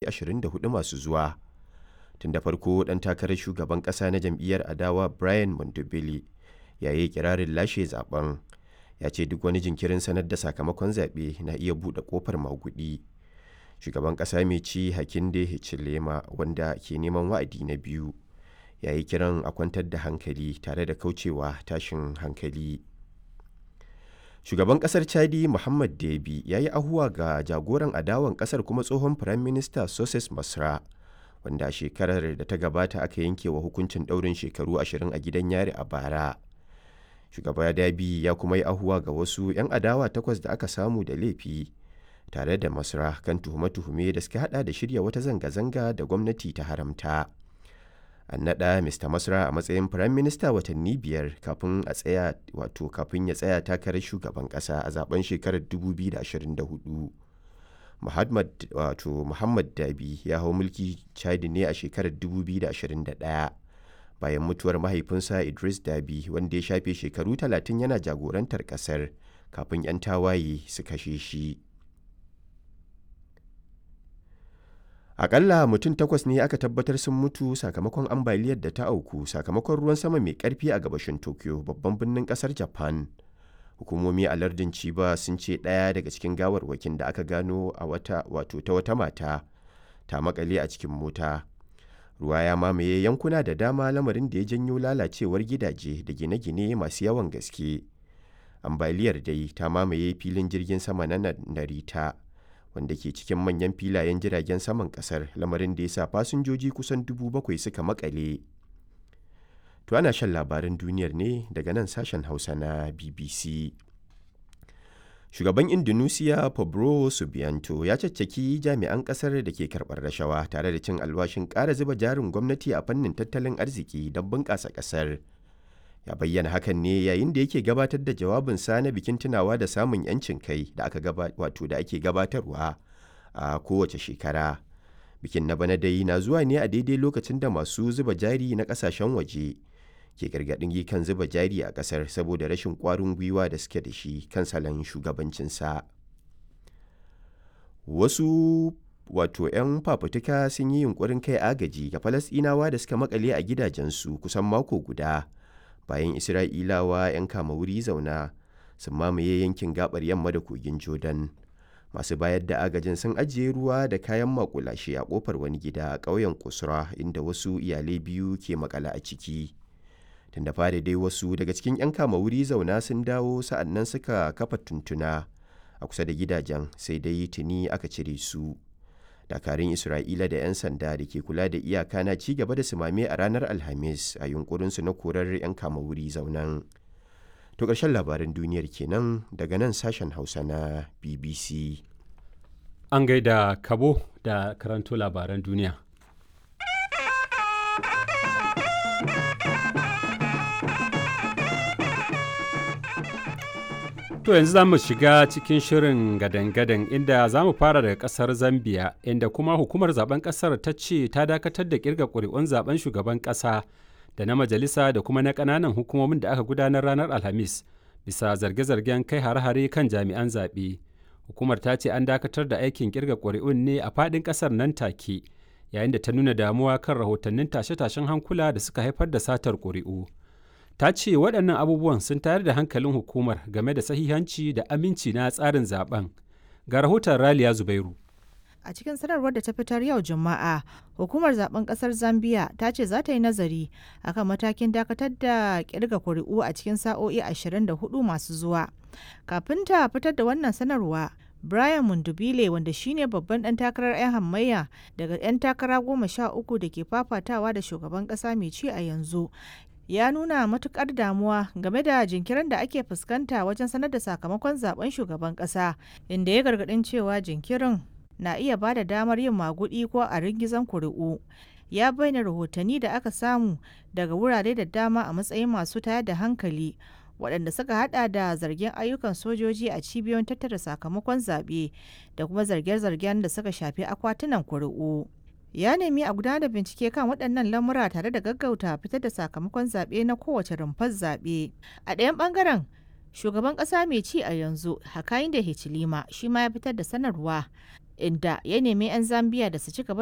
24 masu zuwa. Tun da farko ɗan takarar shugaban ƙasa na jam'iyyar adawa Brian Mondobele ya yi iƙirarin lashe zaɓen, ya ce duk wani jinkirin sanar da sakamakon zaɓe na iya buɗe ƙofar maguɗi. Shugaban ƙasa mai ci Hakainde Hichilema, wanda ke neman wa'adi na biyu, ya yi kiran a kwantar da hankali tare da kauce wa tashin hankali. Shugaban ƙasar Chadi Mohamed Deby ya yi ahuwa ga jagoran adawan ƙasar kuma tsohon Firaminista Success Masra, wanda a shekarar da ta gabata aka yanke wa hukuncin ɗaurin shekaru 20 a gidan yari a bara. Shugaba Deby ya kuma yi ahuwa ga wasu 'yan adawa takwas da aka samu da laifi tare da Masra kan tuhume-tuhume da suka hada da shirya wata zanga-zanga da gwamnati ta haramta. An naɗa Mr. Masra a matsayin firaminista watanni 5 kafin a tsaya wato kafin ya tsaya takarar shugaban ƙasa a zaben shekarar 2024. Muhammad wato Muhammad Dabi ya hau mulki Chadi ne a shekarar 2021 bayan mutuwar mahaifinsa Idris Dabi wanda ya shafe shekaru 30 yana jagorantar ƙasar kafin 'yan tawaye su kashe shi. Aƙalla mutum takwas ne aka tabbatar sun mutu sakamakon ambaliyar da ta auku sakamakon ruwan sama mai ƙarfi a gabashin Tokyo, babban birnin ƙasar Japan. Hukumomi a lardin Chiba sun ce ɗaya daga cikin gawarwakin da aka gano a wata wato ta wata mata ta makale a cikin mota. Ruwa ya mamaye yankuna da dama lamarin da ya janyo lalacewar gidaje da gine-gine masu yawan gaske. Ambaliyar dai ta mamaye filin jirgin sama na Narita, wanda ke cikin manyan filayen jiragen saman kasar lamarin da ya sa fasinjoji kusan 7,000 suka makale. To ana shan labaran duniyar ne daga nan sashen Hausa na BBC. Shugaban Indonesia Prabowo Subianto ya caccaki jami'an kasar da ke karɓar rashawa tare da cin alwashin ƙara zuba jarin gwamnati a fannin tattalin arziki don bunƙasa ƙasar. Ya bayyana hakan ne yayin da yake gabatar da jawabinsa na bikin tunawa da samun 'yancin kai da aka wato da ake gabatarwa a kowace shekara. Bikin na bana dai na zuwa ne a daidai lokacin da masu zuba jari na kasashen waje ke gargaɗin kan zuba jari a ƙasar saboda rashin ƙwarin gwiwa da suke da shi kan salon shugabancinsa. Wasu wato 'yan fafutuka sun yi yunkurin kai agaji ga Falasɗinawa da suka makale a gidajensu kusan mako guda bayan Isra'ilawa 'yan kama wuri zauna sun mamaye yankin gabar yamma da kogin Jordan. Masu bayar da agajin sun ajiye ruwa da kayan makulashe a kofar wani gida a ƙauyen Kusra inda wasu iyalai biyu ke makale a ciki. Tun da fari dai wasu daga cikin 'yan kama wuri zauna sun dawo sa'annan suka kafa tuntuna a kusa da gidajen sai dai tuni aka cire su. Dakarun Isra'ila da 'yan sanda da ke kula da iyaka na ci gaba da sumame a ranar Alhamis a yunkurinsu na korar 'yan kama wuri zaunan. To ƙarshen labaran duniyar kenan daga nan sashen Hausa na BBC. An gaida Kabo da karanto labaran duniya. To yanzu za mu shiga cikin shirin gadan-gadan inda za mu fara daga kasar Zambia inda kuma hukumar zaben kasar ta ce ta dakatar da kirga ƙuri'un zaben shugaban ƙasa da na majalisa da kuma na ƙananan hukumomin da aka gudanar ranar Alhamis bisa zarge-zargen kai hare-hare kan jami'an zaɓe. Hukumar ta ce an dakatar da aikin kirga ƙuri'un ne a faɗin ƙasar nan take yayin da ta nuna damuwa kan rahotannin tashe-tashen hankula da suka haifar da satar ƙuri'u. Ta ce waɗannan abubuwan sun tayar da hankalin hukumar game da sahihanci da aminci na tsarin zaben. Ga rahoton Raliya Zubairu. A cikin sanarwar da ta fitar yau Juma'a, hukumar zaben kasar Zambia ta ce za ta yi nazari akan matakin dakatar da kirga kuri'u a cikin sa'o'i 24 masu zuwa. Kafin ta fitar da wannan sanarwa, Brian Mundubile wanda shine babban dan takarar 'yan hamayya daga 'yan takara 13 da ke fafatawa da shugaban kasa mai ci a yanzu ya nuna matukar damuwa game da jinkirin da ake fuskanta wajen sanar da sakamakon zaben shugaban kasa, inda ya gargadin cewa jinkirin na iya ba da damar yin magudi ko a ringizan kuri'u. Ya bayyana rahotanni da aka samu daga wurare da dama a matsayin masu tayar da hankali, waɗanda suka hada da zargin ayyukan sojoji a cibiyoyin tattara sakamakon zaɓe da kuma zarge-zargen da suka shafi akwatunan kuri'u. Ya nemi a gudanar da bincike kan waɗannan lamura tare da gaggauta fitar da sakamakon zaɓe na kowace rumfar zaɓe. A ɗayan ɓangaren, shugaban ƙasa mai ci a yanzu Hakainde Hichilema shi ma ya fitar da sanarwa. Inda ya nemi 'yan Zambiya da su ci gaba